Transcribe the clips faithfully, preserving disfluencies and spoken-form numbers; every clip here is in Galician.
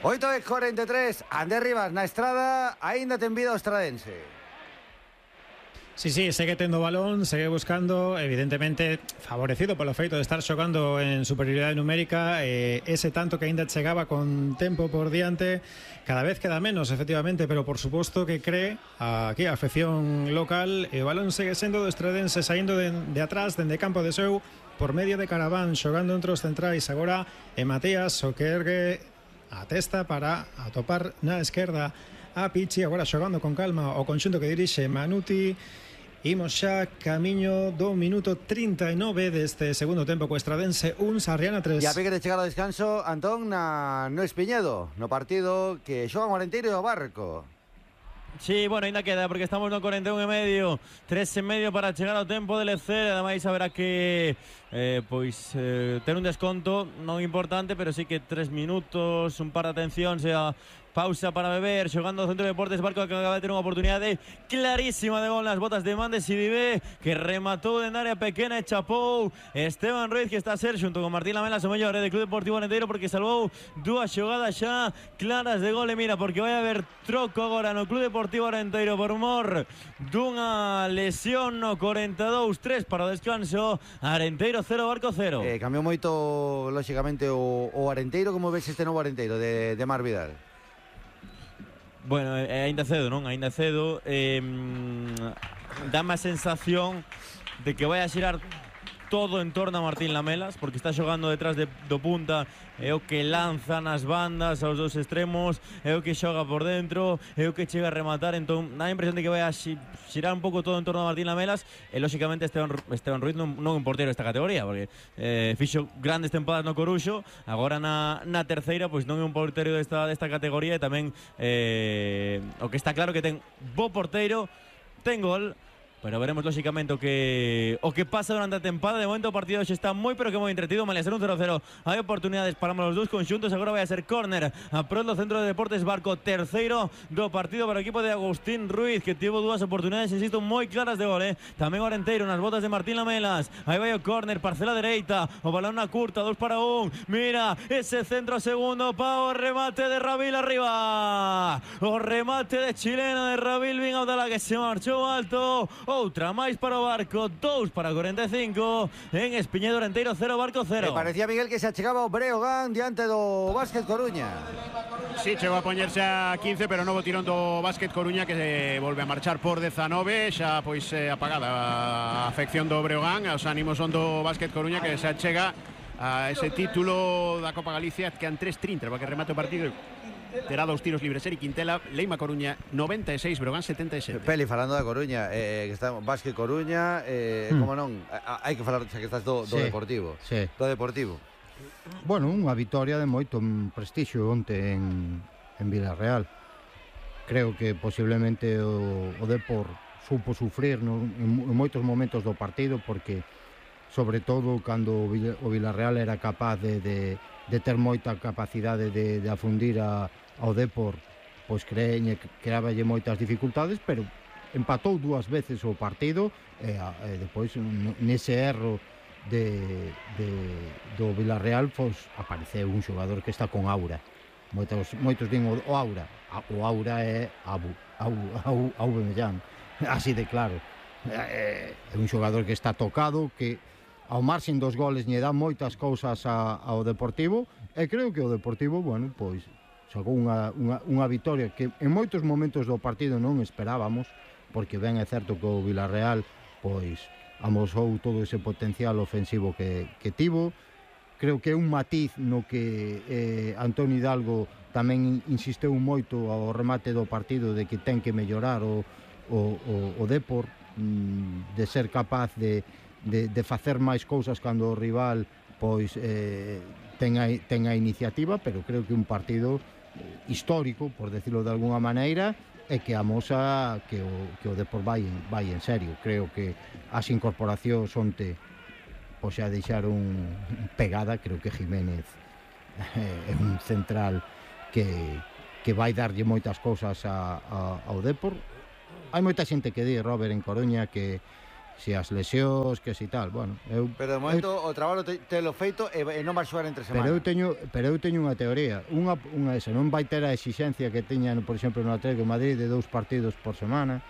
oito e cuarenta e tres, Ander Rivas na estrada, aínda ten vida o estradense. Sí, sí, segue tendo balón, segue buscando, evidentemente favorecido polo feito de estar xogando en superioridade numérica, eh, ese tanto que aínda chegaba con tempo por diante, cada vez queda menos, efectivamente, pero por suposto que cree aquí a afección local, e o balón segue sendo do estradense saindo de, de atrás, dende campo de seu, por medio de Caraván, xogando entre os centrais agora, e Matías, o que ergue a testa para atopar na esquerda a Pichi, agora xogando con calma o conxunto que dirixe Manuti. Imos xa camiño do minuto trinta e nove deste segundo tempo co estradense un, Sarriana tres. E a pique de chegar ao descanso, Antón, na, no Espiñedo, no partido que xogan o Arenteiro e o Barco. Sí, bueno, ainda queda porque estamos no cuarenta e un e medio, tres e medio para chegar ao tempo de lecer. Ademais haberá que eh, pois eh, ter un desconto non importante, pero sí que tres minutos, un par de atención, sea pausa para beber, xogando o Centro de Deportes Barco, que acaba de ter unha oportunidade clarísima de gol nas botas de Mandes Sidibé, que rematou en área pequena e chapou Esteban Ruiz, que está a ser xunto con Martín Lamelas o mellor eh, de Club Deportivo Arenteiro, porque salvou dúas xogadas xa claras de gol. E mira, porque vai haber troco agora no Club Deportivo Arenteiro por mor dunha lesión no cuarenta e dous tres para o descanso. Arenteiro cero, Barco cero. Eh, cambiou moito, lóxicamente, o, o Arenteiro. Como ves este novo Arenteiro de, de Mar Vidal? Bueno, é aínda cedo, non? Aínda cedo. eh, Dame a sensación de que vai a xirar todo en torno a Martín Lamelas, porque está xogando detrás de, do punta, é o que lanza nas bandas aos dous extremos, é o que xoga por dentro, é o que chega a rematar. Entón dá a impresión de que vai a xirar un pouco todo en torno a Martín Lamelas. E lóxicamente Esteban, Esteban Ruiz non, non é un portero desta categoría, porque eh, fixo grandes tempadas no Coruxo, agora na, na terceira pois non é un portero desta, desta categoría. E tamén eh, o que está claro que ten bo porteiro, ten gol, pero veremos lóxicamente o que o que pasa durante a tempada. De momento o partido xa está moi pero que moi entretido. Malia ser un cero cero, hai oportunidades para os dous conxuntos. Agora vai a ser córner a pronto Centro de Deportes Barco, terceiro do partido para o equipo de Agustín Ruiz, que tivo dúas oportunidades, insisto, moi claras de gol, eh? Tamén o Arenteiro nas botas de Martín Lamelas. Aí vai o córner, parcela dereita, o balón na curta, dos para un. Mira, ese centro segundo pa o remate de Rabil arriba. O remate de chileno de Rabil Bin Abdalá, que se marchou alto. Outra máis para o Barco, dous para cuarenta e cinco. En Espiñedo, Arenteiro cero, Barco cero. Me parecía, Miguel, que se achegaba o Breogán diante do Básquet Coruña. Sí, chegou a poñerse a quince, pero novo tirón do Básquet Coruña, que se volve a marchar por dezanove. Xa pois eh, apagada a afección do Breogán. Os ánimos son do Básquet Coruña, que se achega a ese título da Copa Galicia, que an tres trinta para que remate o partido. Terá dos tiros libres Eric Quintela. Leima Coruña noventa e seis, Breogán setenta e sete. Peli, falando da Coruña, eh, que está Básquet Coruña, eh, mm. como non, hai que falar, xa que estás do, do sí, Deportivo. Sí. Do Deportivo. Bueno, unha vitoria de moito prestixio onte en, en Vilarreal. Creo que posiblemente o, o Depor supo sufrir no, en, en moitos momentos do partido, porque sobre todo cando o Vilarreal era capaz de, de, de ter moita capacidade de, de afundir a, ao Depor, pois creeñe, creaballe moitas dificultades, pero empatou dúas veces o partido. E, e depois nese erro de, de, do Vilarreal, pois apareceu un xogador que está con aura. Moitos, moitos din o, o aura, o aura é Abu, Abu, Abu, Abu Mellán, así de claro. É, é un xogador que está tocado, que ao marxen dos goles lle dá moitas cousas a, ao Deportivo, e creo que o Deportivo, bueno, pois sacou unha, unha, unha vitoria que en moitos momentos do partido non esperábamos, porque ben é certo que o Vilarreal pois amosou todo ese potencial ofensivo que, que tivo. Creo que é un matiz no que eh, Antonio Hidalgo tamén insisteu moito ao remate do partido, de que ten que mellorar o, o, o, o Depor, de ser capaz de, de, de facer máis cousas cando o rival pois eh, ten, a, ten a iniciativa. Pero creo que un partido histórico, por decirlo de alguna maneira, e que amosa que o, que o Depor vai, vai en serio. Creo que as incorporacións onte pois xa deixaron pegada. Creo que Jiménez é un central que, que vai darlle moitas cousas a, a, ao Depor. Hai moita xente que di, Robert, en Coruña, que si as lesións, que si tal, bueno, eu Pero de momento eu, o traballo te, te lo feito e, e non vai xogar entre semana. Pero eu teño, pero eu teño unha teoría, unha unha esa, non vai ter a exixencia que teñan, por exemplo, no Atlético de Madrid de dous partidos por semana.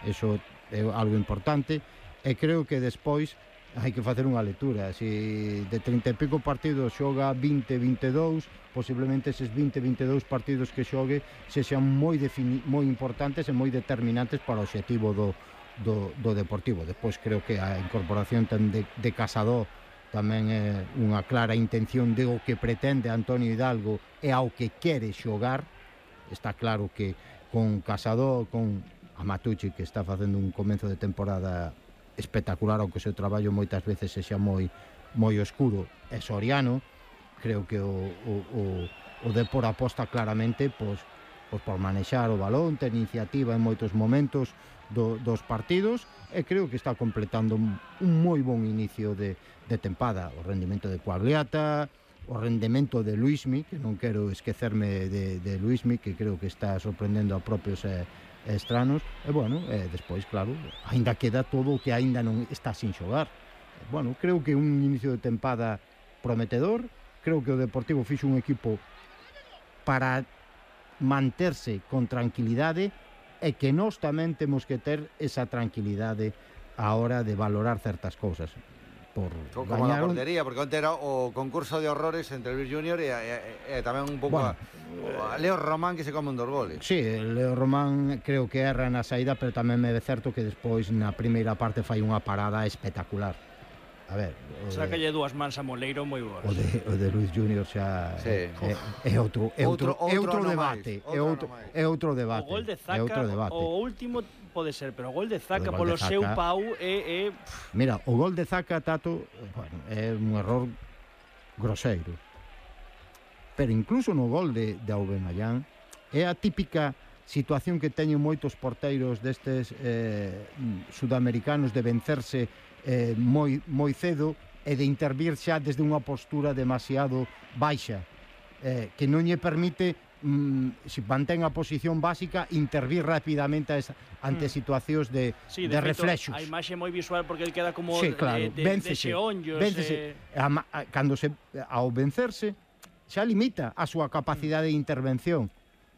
Eso é algo importante e creo que despois hai que facer unha lectura. Si de trinta e pico partidos xoga vinte, veintidós, posiblemente eses vinte, veintidós partidos que xogue sexan moi defini- moi importantes e moi determinantes para o obxectivo do Do, do Deportivo. Despois creo que a incorporación de, de Casado tamén é unha clara intención de o que pretende Antonio Hidalgo e ao que quere xogar. Está claro que con Casado, con Amatucci, que está facendo un comenzo de temporada espectacular, ao que o seu traballo moitas veces sexa moi moi oscuro, e Soriano, creo que o, o, o, o Depor aposta claramente pois, pois por manexar o balón, ter iniciativa en moitos momentos Do, dos partidos, e creo que está completando un, un moi bon inicio de, de tempada. O rendimento de Coagliata, o rendimento de Luismi, que non quero esquecerme de, de Luismi, que creo que está sorprendendo a propios e, e estranos, e bueno, e despois, claro, aínda queda todo o que aínda non está sin xogar. E, bueno, creo que un inicio de tempada prometedor, creo que o Deportivo fixo un equipo para manterse con tranquilidade, e que nós tamén temos que ter esa tranquilidade a hora de valorar certas cousas. Por como a portería, porque onte era o concurso de horrores entre Luis Junior e, e, e tamén un pouco bueno, a, a Leo Román, que se come un dos goles. Sí, Leo Román creo que erra na saída, pero tamén me é certo que despois na primeira parte fai unha parada espectacular. A ver, sácalle dúas mans a Moleiro moi boas. O de, o de Luis Junior xa sí. é, é outro é outro, outro, é outro debate, é outro é outro debate. O gol de Zaca, é outro debate. O último pode ser, pero o gol de Zaca gol polo de seu Zaca, pau é, é mira, o gol de Zaca, Tato, bueno, é un error groseiro. Pero incluso no gol de de Aubameyang é a típica situación que teñen moitos porteiros destes eh, sudamericanos de vencerse Eh, moi, moi cedo e de intervir xa desde unha postura demasiado baixa, eh, que non lle permite mm, se mantén a posición básica intervir rapidamente a esa, ante mm. situacións de, sí, de, de feito, reflexos. A imaxe moi visual porque el queda como sí, claro, de, de, véncese, de xeonllos véncese. Eh... A, a, cando se, ao vencerse xa limita a súa capacidade de intervención.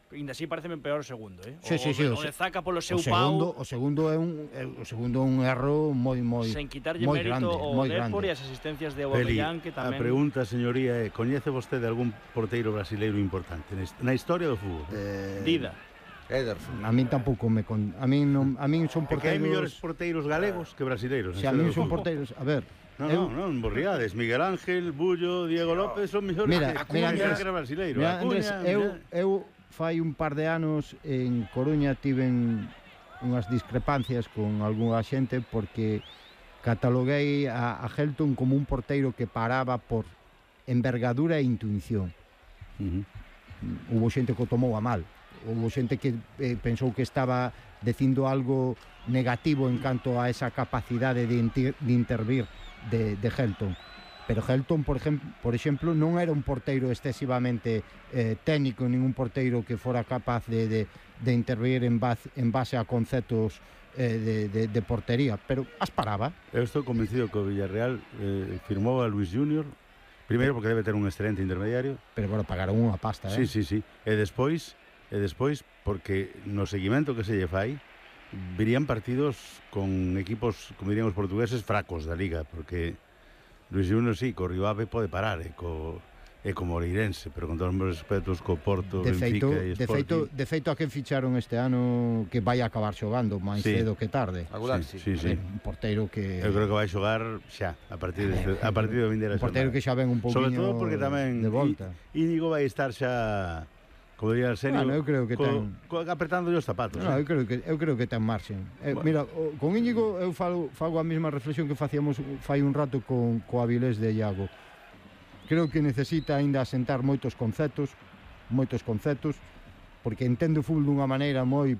Ainda así pareceme peor o segundo, eh? Sí, o, sí, sí, o, o de Zaca polo seu o segundo, pau. O segundo é un o segundo un erro moi moi sen quitarlle moi mérito grande, ao moi Depor grande. e as asistencias de Aubameyang, que tamén. A pregunta, señoría, é: coñece vostede algún porteiro brasileiro importante na historia do fútbol? Eh... Dida. Ederson. A min tampouco me con... a min non a min son porteiros. Porque hai mellores porteiros galegos que brasileiros. Si a min son porteiros, a ver. No, eu... no, non, borriades. Miguel Ángel, Bullo, Diego López son mellores. Mira, que mira, Acuña, Andrés, que era brasileiro. Mira, Andrés, Acuña, eu mira. eu fai un par de anos en Coruña tiven unhas discrepancias con algunha xente porque cataloguei a, a Helton como un porteiro que paraba por envergadura e intuición. Uh-huh. Hubo xente que o tomou a mal. Hubo xente que eh, pensou que estaba dicindo algo negativo en canto a esa capacidade de, inter, de intervir de, de Helton. Pero Helton, por exemplo, por exemplo, non era un porteiro excesivamente eh, técnico, ningún porteiro que fora capaz de, de, de intervir en base, en base a conceptos eh, de, de, de portería, pero as paraba. Eu estou convencido que o Villarreal eh, firmou a Luis Junior, primeiro porque debe ter un excelente intermediario. Pero, bueno, pagaron unha pasta, eh? Sí, sí, sí. E despois, e despois porque no seguimento que se lle fai, virían partidos con equipos, como dirían os portugueses, fracos da Liga, porque Luis Junior sí, co Rivave pode parar, e co, e co Moreirense, pero con todos os meus respetos co Porto, de Benfica feito, e de feito, Sporting. de feito a quen ficharon este ano que vai a acabar xogando máis Sí. cedo que tarde. Aguilar, Sí, sí. sí, sí. Un porteiro que Eu creo que vai xogar xa, a partir de, a partir do vindeira un porteiro que xa ven un pouquiño Sobre todo porque tamén de volta. I- Íñigo vai estar xa, como diría Arsenio, Bueno, eu creo que co, ten- co, apretando os zapatos. No, eh. eu creo que eu creo que ten marxen. Eh, Bueno. Mira, o, con Íñigo eu falo fago a mesma reflexión que facíamos fai un rato con co Avilés de Iago. Creo que necesita aínda asentar moitos conceptos, moitos conceptos, porque entende o fútbol dunha maneira moi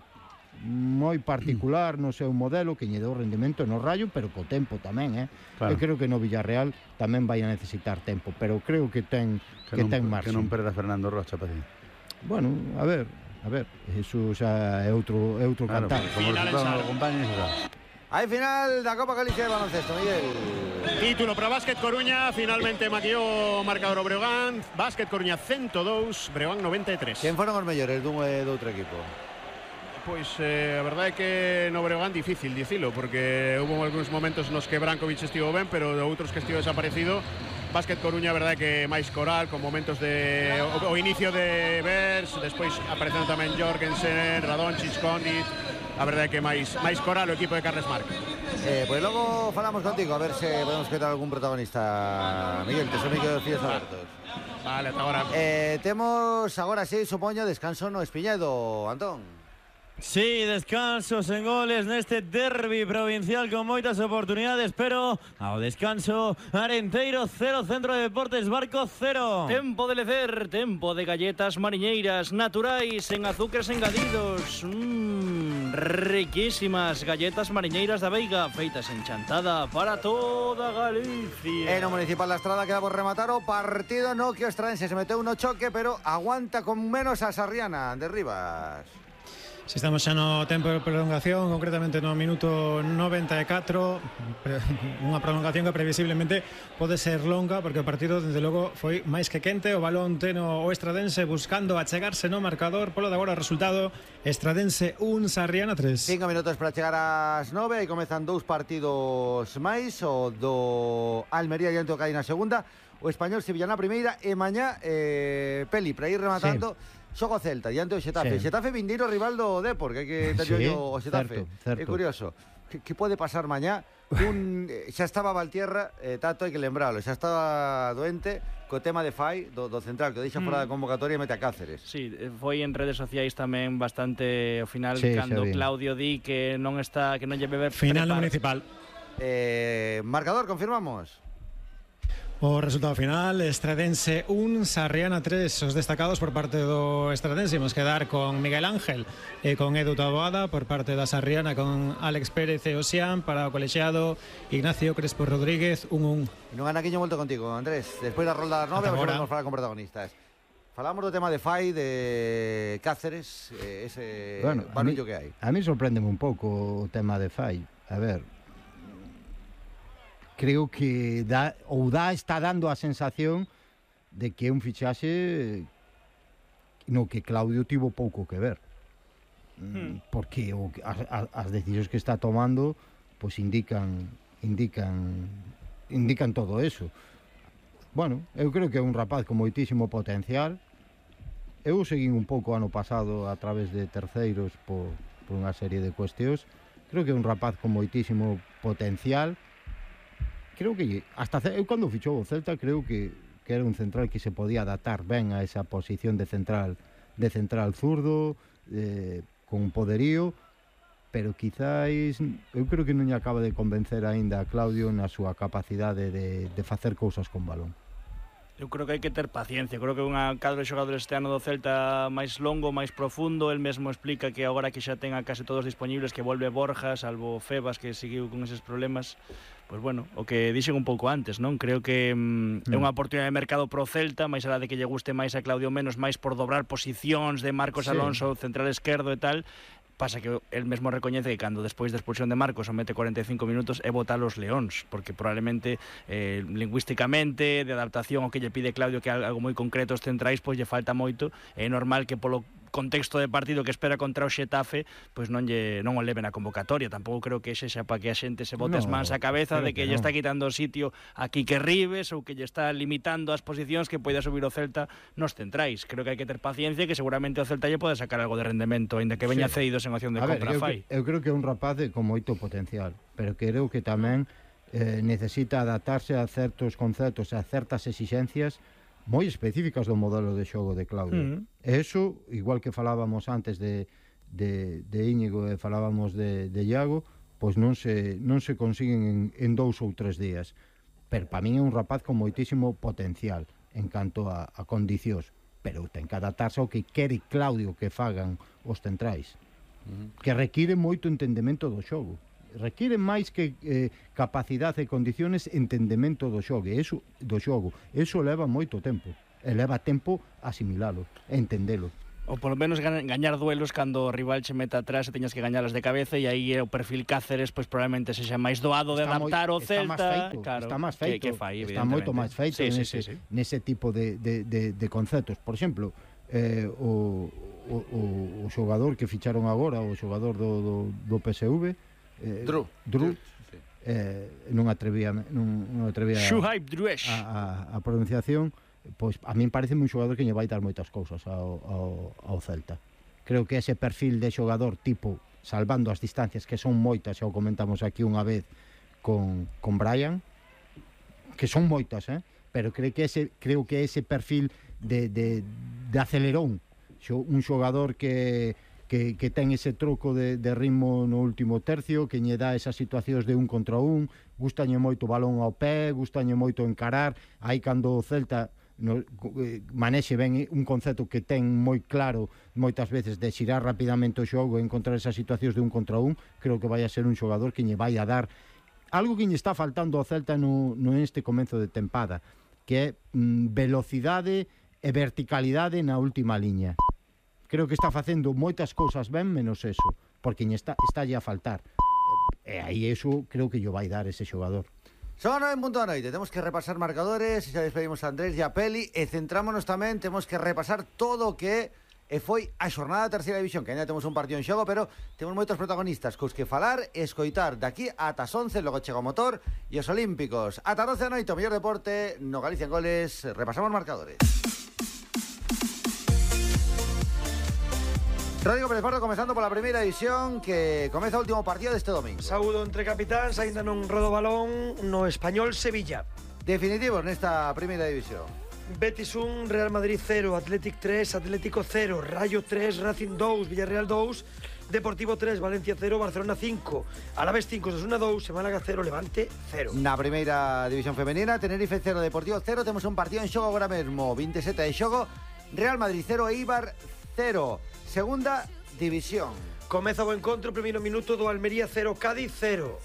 moi particular no seu modelo, que lle deu rendimento no Rayo, pero co tempo tamén, eh. Claro. Eu creo que no Villarreal tamén vai a necesitar tempo, pero creo que ten que, que, non, ten que marxen. non perda Fernando Rocha, paciencia. Bueno, a ver, a ver, eso xa é outro é outro Claro, cantar. como Final resultado en non Sar. acompaña, xa. Hai final da Copa Galicia de baloncesto, Miguel. Título para Básquet Coruña, finalmente maquillou o marcador o Breogán. Básquet Coruña ciento dous, Breogán noventa e tres. Quen foron os mellores dun e do outro equipo? Pois eh, a verdade é que no Breogán difícil dicilo, porque hubo algúns momentos nos que Brankovic estivo ben, pero de outros que estivo desaparecido. Básquet Coruña, a verdade é que máis coral, con momentos de o, o inicio de Bers, despois aparecendo tamén Jorgensen, Radončić, Kondi. A verdade é que máis máis coral o equipo de Carles Marc. Eh, pues logo falamos contigo, a ver se podemos quitar algún protagonista. Miguel, te son Miguel Fíos abertos. Vale, ata agora. Eh, temos agora sí, supoño, descanso no Espiñedo, Antón. Sí, descansos en goles neste derbi provincial con moitas oportunidades, pero ao descanso Arenteiro cero, Centro de Deportes Barco cero. Tempo de lecer, tempo de galletas mariñeiras naturais en azúcares engadidos. Mmm, riquísimas galletas mariñeiras da Veiga, feitas en Chantada para toda Galicia. En o Municipal da Estrada queda por rematar o partido no que o Estradense se meteu no choque, pero aguanta con menos a Sarriana de Rivas. Si estamos xa no tempo de prolongación, concretamente no minuto noventa e catro, unha prolongación que previsiblemente pode ser longa, porque o partido, desde logo, foi máis que quente. O balón teno o Estradense buscando achegarse no marcador. Polo de agora o resultado, Estradense un, Sarriana tres. Cinco minutos para chegar ás nove e comezan dous partidos máis, o do Almería diante o Cádiz na segunda, o Español Sevilla na primeira, e mañá eh, Peli, para ir rematando, sí. Xogo Celta diante do Xetafe. Sí. Xetafe vindeiro rival do Depor, que hai que ter Sí, o Xetafe. certo, certo. É curioso. Que, que pode pasar mañá? Un, eh, xa estaba Valtierra, eh, Tato, hai que lembralo, xa estaba doente co tema de Fai, do, do central, que o deixa mm. fora da convocatoria e mete a Cáceres. Sí, foi en redes sociais tamén bastante ao final, Sí, cando xa vi. Claudio di que non está, que non lle bebe Final no prepar- Municipal. Eh, marcador, confirmamos. O resultado final, Estradense un, Sarriana tres. Os destacados por parte do Estradense imos quedar con Miguel Ángel e con Edu Taboada, por parte da Sarriana con Alex Pérez e Osián, para o colexiado Ignacio Crespo Rodríguez un un. Non anaquiño volto contigo, Andrés. Despois da rolda das nove, Ata vamos agora. a falar con protagonistas. Falamos do tema de Fai, de Cáceres, eh, ese Bueno, a mí, barullo que hai. a mí sorprende un pouco o tema de Fai. A ver, creo que dá, ou dá, está dando a sensación de que é un fichaxe no que Claudio tivo pouco que ver. Hmm. Porque o, as, as decisións que está tomando pois indican indican indican todo eso. Bueno, eu creo que é un rapaz con moitísimo potencial. Eu seguín un pouco ano pasado a través de terceiros por, por unha serie de cuestións. Creo que é un rapaz con moitísimo potencial. Creo que hasta eu cando fichou o Celta creo que, que era un central que se podía adaptar ben a esa posición de central de central zurdo, eh, con poderío, pero quizáis eu creo que non lle acaba de convencer aínda a Claudio na súa capacidade de, de facer cousas con balón. Eu creo que hai que ter paciencia. Creo que é unha cadro de xogadores este ano do Celta máis longo, máis profundo. El mesmo explica que agora que xa ten a case todos disponibles, que volve Borja, salvo Febas, que seguiu con eses problemas. Pois bueno, o que dixen un pouco antes, non? Creo que mm, é unha oportunidade de mercado pro Celta, máis alá de que lle guste máis a Claudio menos, máis por dobrar posicións de Marcos Sí. Alonso, central esquerdo e tal. Pasa que el mesmo recoñece que cando despois da expulsión de Marcos o mete cuarenta e cinco minutos é botar os leóns, porque probablemente eh, lingüísticamente, de adaptación ao que lle pide Claudio, que é algo moi concreto os centrais, pois lle falta moito. É normal que polo contexto de partido que espera contra o Xetafe, pois non lle non o leven a convocatoria. Tampouco creo que ese xa para que a xente se bote No, as mans á cabeza de que, que lle no. está quitando o sitio a Quique Ribes ou que lle está limitando as posicións que poida subir o Celta nos centrais. Creo que hai que ter paciencia, que seguramente o Celta lle pode sacar algo de rendemento, aínda que veña Sí. cedidos en opción de A ver, compra eu, fai. que- eu creo que é un rapaz de, con moito potencial, pero creo que tamén eh, necesita adaptarse a certos conceptos, a certas exixencias moi específicas do modelo de xogo de Claudio. Mm. E iso, igual que falábamos antes de, de, de Íñigo e falábamos de, de Iago, pois non se, non se consiguen en, en dous ou tres días. Pero para min é un rapaz con moitísimo potencial en canto a, a condicións, pero ten que adaptarse ao que quere Claudio que fagan os centrais, que require moito entendemento do xogo. Require máis que eh, capacidade e condiciones, entendemento do xogo. Eso, do xogo. Eso leva moito tempo. E leva tempo asimilalo, entendelo. Ou polo menos gañar duelos cando o rival che meta atrás e teñas que gañalas de cabeza, e aí o perfil Cáceres pois probablemente sexa máis doado de está adaptar moi, o Celta. Está máis feito, claro, está máis feito, que, que fai, está moito máis feito sí, nese, sí, sí, sí. nese tipo de, de, de, de conceptos. Por exemplo, eh, o, o, o, o xogador que ficharon agora, o xogador do, do, do P S V, eh, Dru. Dru, eh, non atrevía non, non atrevía Shuaib Druesh. a, a, a pronunciación, pois a min parece un xogador que lle vai dar moitas cousas ao, ao, ao Celta. Creo que ese perfil de xogador tipo, salvando as distancias, que son moitas, xa o comentamos aquí unha vez con, con Brian, que son moitas, eh? Pero creo que ese, creo que ese perfil de, de, de acelerón, un xogador que, que, que ten ese troco de, de ritmo no último tercio, que lle dá esas situacións de un contra un, gustañe moito o balón ao pé, gustañe moito encarar, aí cando o Celta no, eh, manexe ben un concepto que ten moi claro moitas veces de xirar rapidamente o xogo e encontrar esas situacións de un contra un, creo que vai a ser un xogador que lle vai a dar algo que lle está faltando ao Celta no, no este comenzo de tempada, que é mm, velocidade e verticalidade na última liña. Creo que está facendo moitas cousas ben menos eso, porque lle está, está lle a faltar, e aí eso creo que lle vai dar ese xogador. Son nove en punto da noite, temos que repasar marcadores, e xa despedimos a Andrés e a Peli, e centrámonos tamén, temos que repasar todo o que e foi a xornada da terceira división, que ainda temos un partido en xogo, pero temos moitos protagonistas cos que falar e escoitar daqui ata as once, logo chega o motor e os olímpicos. Ata doce da noite, o mellor deporte no Galicia en Goles, repasamos marcadores. Rodrigo Pérez Pardo comezando pola primeira división, que comeza o último partido deste domingo. Saúdo entre capitáns, aínda non rodo balón no Español Sevilla. Definitivos nesta primeira división. Betis un, Real Madrid cero, Athletic tres, Atlético cero, Rayo tres, Racing dos, Villarreal dos, Deportivo tres, Valencia cero, Barcelona cinco, Alavés cinco, Osasuna dos, Málaga cero, Levante cero. Na primeira división femenina, Tenerife cero, Deportivo cero, temos un partido en xogo agora mesmo, veintisiete de xogo, Real Madrid cero, Eibar cero. Segunda división. Comeza o encontro, primeiro minuto do Almería cero, Cádiz cero.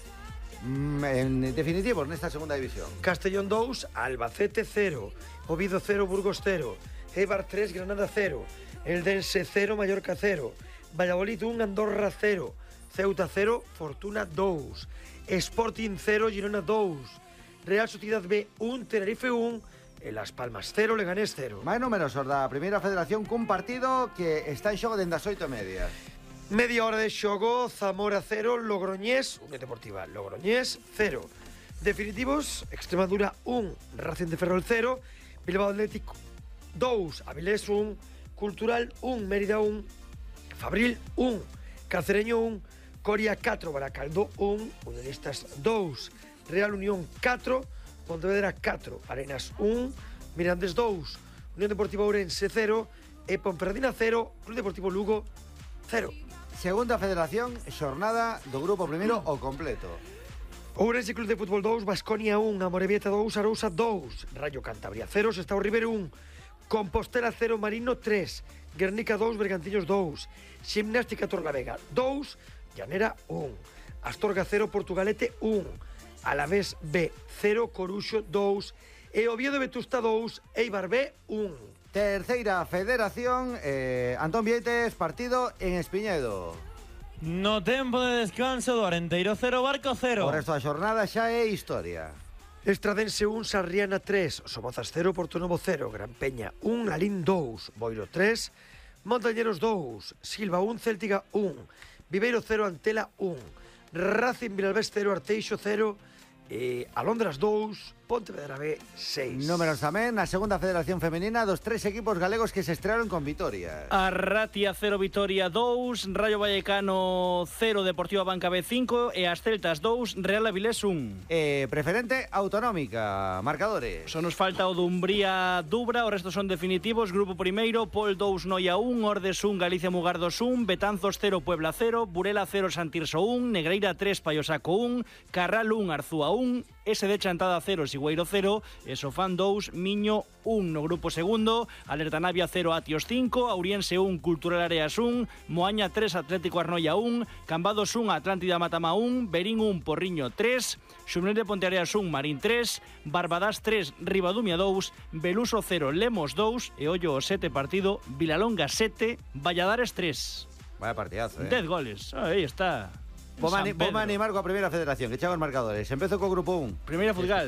Mm, en definitivos nesta segunda división. Castellón dos, Albacete cero, Oviedo cero, Burgos cero, Eibar tres, Granada cero, Eldense cero, Mallorca cero, Valladolid un, Andorra cero, Ceuta cero, Fortuna dos, Sporting cero, Girona dos, Real Sociedad B un, Tenerife un, e Las Palmas cero, Leganés cero. Máis números da primeira federación cun partido que está en xogo dende as oito e media. Media hora de xogo, Zamora cero, Logroñés, Unión Deportiva Logroñés cero. Definitivos, Extremadura un, Racing de Ferrol cero, Bilbao Atlético dos, Avilés un, Cultural un, Mérida un, Fabril un, Cacereño un, Coria catro, Baracaldo un, Unionistas dos, Real Unión catro, Pontevedra catro, Arenas un, Mirandés dos, Unión Deportiva Ourense cero e Ponferradina cero, Club Deportivo Lugo cero. Segunda federación, xornada do grupo primeiro ao completo. Ourense Club de Fútbol dos, Baskonia un, Amorebieta dos, Arousa dos, Rayo Cantabria cero, Sestao River un, Compostela cero, Marino tres, Guernica dos, Bergantiños dos, Gimnástica Torlavega dos, Llanera un, Astorga cero, Portugalete un, Alavés B cero, Coruxo dos e Oviedo Vetusta dos, Eibar B un. Terceira federación, eh, Antón Vieites, partido en Espiñedo. No tempo de descanso do Arenteiro cero, Barco cero. O resto da xornada xa é historia. Estradense un, Sarriana tres, Somozas cero, Portonovo cero, Gran Peña un, Lalín dos, Boiro tres, Montañeros dos, Silva un, Céltiga un, Viveiro cero, Antela un, Racing Vilalbés cero, Arteixo cero, e Alondras dos, Pontevedra B seis. Números tamén na segunda federación femenina dos tres equipos galegos que se estrearon con vitorias. Arratia cero, Vitoria dos, Rayo Vallecano cero, Deportiva Banca B cinco e as Celtas dos, Real Avilés un. Eh, preferente autonómica, marcadores. Só nos falta o Dumbría Dubra, o resto son definitivos. Grupo primeiro, Pol dos, Noia un, Ordes un, Galicia Mugardos un, Betanzos cero, Puebla cero, Burela cero, Santirso un, Negreira tres, Paiosaco un, Carral un, Arzúa un S D Chantada cero, Sigüeiro cero, e Sofán dous, Miño un. No grupo segundo, Alerta Navia cero, Atios cinco, Auriense un, Cultural Areas un, Moaña tres, Atlético Arnoia un, Cambados un, Atlántida Matama un, Berín un, Porriño tres, Xumel de Ponteareas un, Marín tres, Barbadas tres, Ribadumia dous, Beluso cero, Lemos dous, e ollo o sete partido, Vilalonga sete, Valladares tres. Vaya partidazo, eh. dez goles, aí está. Vamos a animar con la primera federación, que echaba los marcadores. Empezó con grupo uno. Primera Futsal.